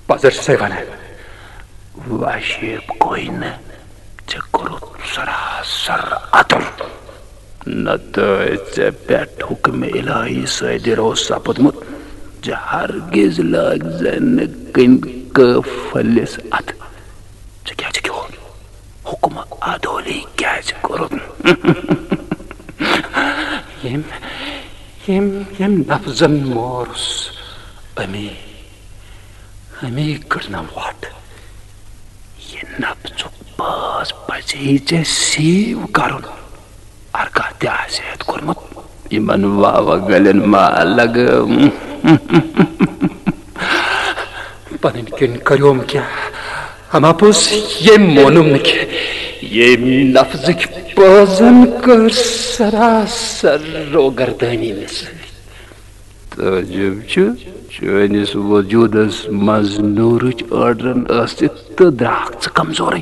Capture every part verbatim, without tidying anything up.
پزر چھسے ونان۔ وشیب کوئی نہٕ، ژےٚ کوٚرُتھ سراسر عطل۔ نتہٕ ژےٚ پٮ۪ٹھ حکم الہی صٲدر اوس سپدمُت زِ ہرگز لاگزن نہٕ کٔنۍ کٲفلِس اتھٕ۔ ژےٚ کیٛازِ کیٛاہ حکم عدولی کیٛازِ کوٚرُتھ؟ ییٚمۍ، ییٚمۍ، ییٚمۍ نفزن مورُس، امی، امی کٔڑنم وۄٹھ۔ یہِ نفزُک باز پزی ژےٚ سیو کرُن۔ ہرکانٛہہ تہِ آسہِ ہٮ۪تھ کوٚرمُت یِمن واوٕ گلٮ۪ن ما لگٲو۔ پنٕنۍ کِنۍ کریوم کینٛہہ؟ اما پوٚز، ییٚمۍ مونُم نہٕ کینٛہہ، ییٚمۍ نفزٕکۍ پٲزن کٔر سراسر روگردٲنی مےٚ سۭتۍ۔ تعجب چھُ، چٲنِس وجوٗدس منٛز نوٗرٕچ أڈرن ٲسِتھ تہٕ درٛاکھ ژٕ کمزورٕے۔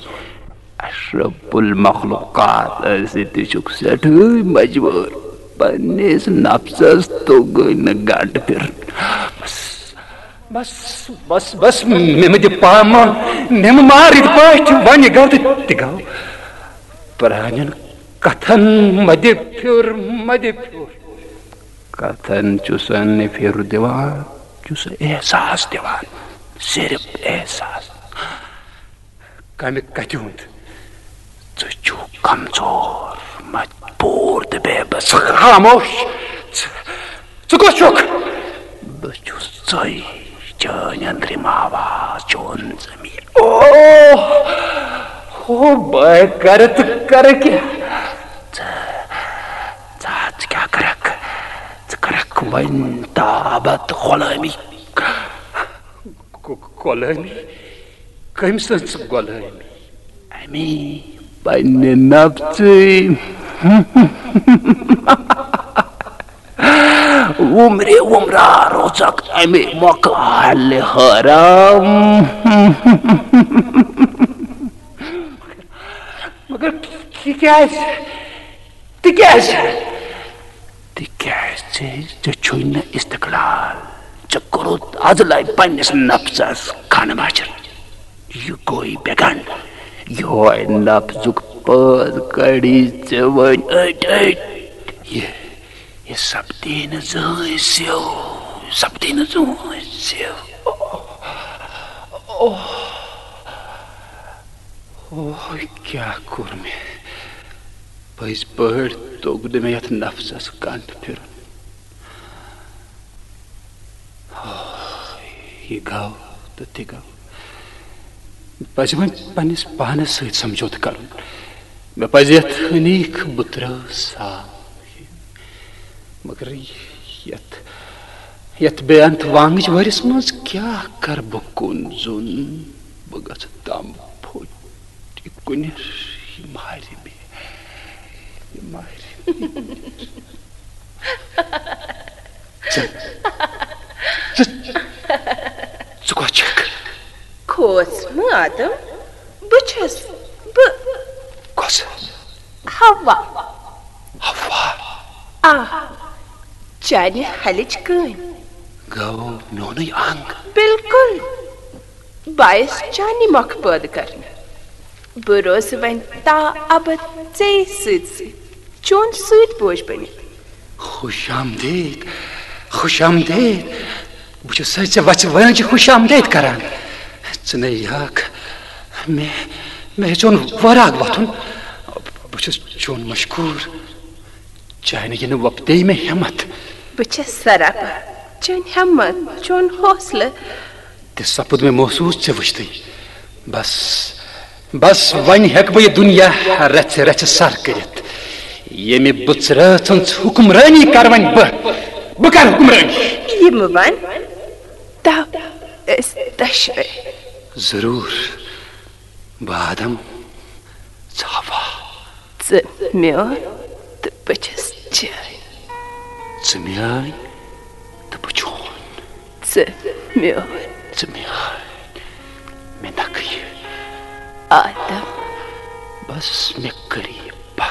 اشرف المخلوقات ٲسِتھ تہِ چھُکھ سٮ۪ٹھٕے مجبوٗر پننِس نفسس توٚگُے نہٕ گنٛڈ پھِرُن۔ بس، بس، بس، بس، مےٚ مہٕ دِ پامہٕ، مےٚ مہٕ مار یِتھ پٲٹھۍ، وۄنۍ یہِ گوٚو تہٕ تہِ گوٚو۔ پرٛانٮ۪ن کتھن مہ دِ پھیُر، مہ دِ پھیُر۔ کتھن چھُسن نہٕ پھیُر دِوان، چھُس احساس دِوان، صرف احساس۔ کمہِ کتھِ ہُنٛد؟ ژٕ چھُکھ کمزور، مجبوٗر تہٕ بے بس۔ خاموش۔ ژٕ، ژٕ کُس چھُکھ؟ بہٕ چھُس ژٕے، چٲنۍ أنٛدرِم آواز، چون ضمیٖر۔ اوہ، اوہ، بہٕ کرٕ تہٕ کرٕ کیٛاہ؟ ژٕ، ژٕ، ژٕ کیٛاہ کرکھ؟ ژٕ کرکھ وۄنۍ تابت غلٲمی؟ غ-، غلٲمی؟ کٔمۍ سٕنٛز غلٲمی؟ امی پننہِ نفژٕے۔ وُمرِ وُمرا روزکھ امی مۄکھٕ حالہِ حرام۔ مگر تِکیٛازِ؟ تِکیٛازِ؟ تِکیٛازِ ژےٚ چھُے نہٕ استقلال۔ ژےٚ کوٚرُتھ از لبہِ پننِس نفسس خانہٕ ماجر۔ یہِ گوٚو بے گنڈ۔ یِہوے نفسُک پٲز کڑی ژےٚ وۄنۍ أٹۍ أٹۍ۔ یہِ، یہِ سپدی نہٕ زٕہٕنۍ سیو، سپدی نہٕ زٕہٕنۍ سیو۔ اوہ، اوہ، اوہ، کیٛاہ کوٚر مےٚ؟ پٔزۍ پٲٹھۍ توٚگ نہٕ مےٚ یتھ نفسس کنڈ پھِرُن۔ ہاے، یہِ گوٚو تہٕ تہِ گوٚو۔ مےٚ پزِ وۄنۍ پننِس پانس سۭتۍ سمجھوتہٕ کرُن۔ مےٚ پزِ یتھ ہنیٖک بُترٲو سال ہیوٚن۔ مگر یتھ، یتھ بے انت وانگِچ وٲرِس منٛز کیٛاہ کرٕ بہٕ کُن زوٚن؟ بہٕ گژھٕ تام پھوٚٹ۔ یہِ کُنِر، یہِ مارِ مےٚ، یہِ مارِ مےٚ۔ ژٕ، ژٕ، ژٕ کۄس چھکھ؟ کھوژ مہٕ آدم، بہٕ چھس، بہٕ۔ کۄس؟ حوا۔ حوا؟ آ، چانہِ ہلٕچ کٲنۍ۔ گوٚو میونُے انگ۔ بالکل۔ بہٕ آیس چانی مۄکھٕ پٲدٕ کرنہٕ۔ بہٕ روزٕ وۄنۍ تا ابد ژے سۭتۍ سۭتۍ، چون سۭتۍ بوج بٔنِتھ۔ خوش آمدید، خوش آمدید۔ بہٕ چھُس سا ژےٚ وژھِ وٲنٛجہِ خوش آمدید کران۔ ژٕ نے یاکھ مےٚ، مےٚ ہیٚژیون وٲراگ وۄتھُن۔ بہٕ چھُس چون مشکوٗر۔ چانہِ یِنہٕ وۄپدے مےٚ ہٮ۪متھ۔ بہٕ چھَس سراپا چٲنۍ ہٮ۪متھ، چون حوصلہٕ۔ تہِ سپُد مےٚ محسوٗس ژےٚ وٕچھتٕے۔ بس، بس، وۄنۍ ہٮ۪کہٕ بہٕ یہِ دُنیا رژھِ رژھِ سر کٔرِتھ۔ ییٚمہِ بٕژرٲژ ہٕنٛز حُکمرٲنی کرٕ وۄنۍ بہٕ۔ بہٕ کرٕ حُکمرٲنی۔ یہِ مہٕ وَن، تَو أسۍ دۄشوَے۔ ضروٗر۔ بہٕ آدم، ژٕ حوا۔ ژٕ میون تہٕ بہٕ چھَس چٲنۍ۔ ژٕ میٲنۍ تہٕ بہٕ چون۔ ژٕ میون۔ ژٕ میٲنۍ۔ مےٚ نکھٕ یہِ۔ آدم۔ بس مےٚ کٔر یہِ